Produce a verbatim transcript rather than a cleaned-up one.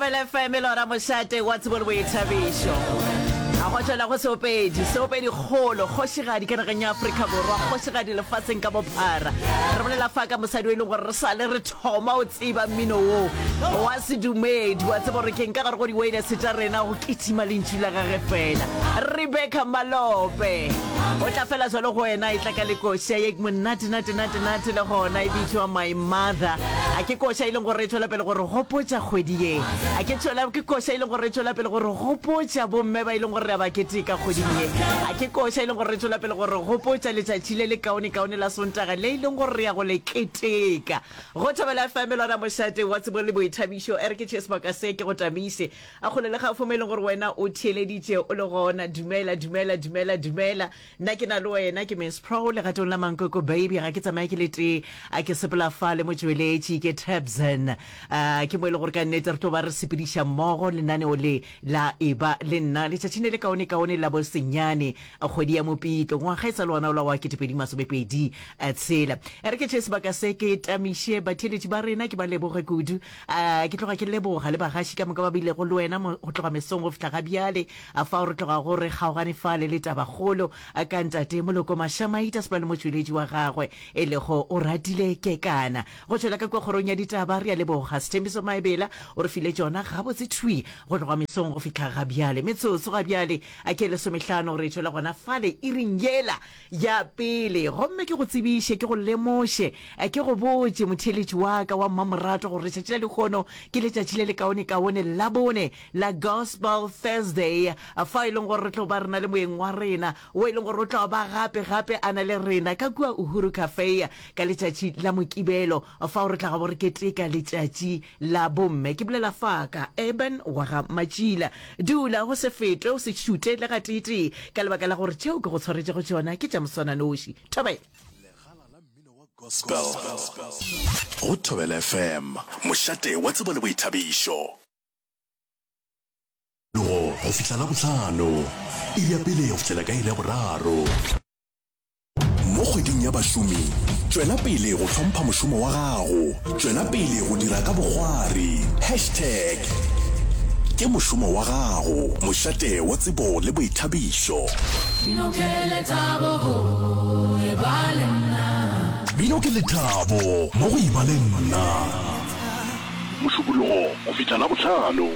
Thobela F M, lora mošate wa tsebo le boithabišo. A go tšwela go seopedi, seopedi kgolo, kgošigadi ka nageng ya Afrika Borwa, kgošigadi lefaseng ka bophara. Re bolela fa ka mosadi o e leng gore re sa le re thoma o tseba mmino wo wa sedumedi, wa tseba gore keng ka gare go di-wireless tša rena go kitima lentšu la gage fela. Rebecca Malope o tla fela jalo go wena, e tla ka lekoša ye monate nate nate nate, le gona e bitšwa My Mother. A ke koša e leng gore e tšwela pele gore gopotša kgwedi ye, a ke tšwela ke koša e leng gore e tšwela pele gore gopotša bomme ba e leng gore re a ba keteka kgweding ye, a ke koša e leng gore re tšwela pele gore gopotša letšatši le le kaone kaone la Sontaga le e leng gore re ya go le keteka go Thobela F M, lona mošate wa tsebo le boithabišo. E re ke tšee sebaka se ke go tamise a kgole le gaufi mo e leng gore wena o theeleditše o le gona. Dumela, dumela, dumela, dumela. Nna ke na le wena ke Miss Pro legatong la Mankoko Baby. Ga ke tsamaye ke le tee, a ke sepela fa le motšweletši ke Tabson. uh, ke mo e le gore ka nnete re tlo ba re sepediša mmogo lenaneo le la Eba le Nna letšatšing le le kaone kaone la bosenyane kgwedi ya Mopitlo, ngwaga e sa le ona ola wa ketepedi masomepedi tshela. E re ke tšee sebaka se ke tamiše batheeletši ba rena, ke ba leboge kudu. uh, ke tloga ke leboga le bagaši ka moka ba bilego le wena go tloga mesong go fihla ga bjale, fao re tloga go re kgaogane fale le tabakgolo ka ntate Moloko Mašamaita sepela le motšweletši wa gagwe e lego o ratile kekana. Go tšwela ka kua kgorong ya ditaba, re a leboga Sethembiso Maebela, o re file tšona gabotse thwi go tloga mesong go fihla ga bjale. Metsotso ga bjale a ke lesomehlano re tšwela gona fale iring yela ya pele. Gomme ke go tsebiše, ke go lemoše, ke go botše, motheeletši wa ka wa mmamoratwa, gore letšatši la lehono ke letšatši le le kaonekaone la bone la Gospel Thursday, fao e leng gore re tlo ba re na le moeng wa rena wo e leng gore o tla ba gape gape a na le rena ka kua Uhuru Cafe ka letšatši la Mokibelo, fao re tla gabo re keteka letšatši la bomme. Ke bolela fa ka Urban wa ga Matšila. Dula go se fetwe, o se šute le gateetee, ka lebaka la gore tšeo ke go tshwaretšego tšona ke tša moswananoši. Thobela. Legala la mmino wa gospel go Thobela F M, mošate wa tsebo le boithabišo. Go go fihla Labohlano, iri ya pele go fihlela ka iri ya boraro. Mo kgweding ya bašomi, tšwela pele go hlompha mošomo wa gago, tšwela pele go dira ka bokgwari. Hashtag ke mošomo wa gago, mošate wa tsebo le boithabišo. Bino ke lethabo go eba le nna. Bino ke lethabo mo go eba le nna. Mošupologo go fihla Labohlano.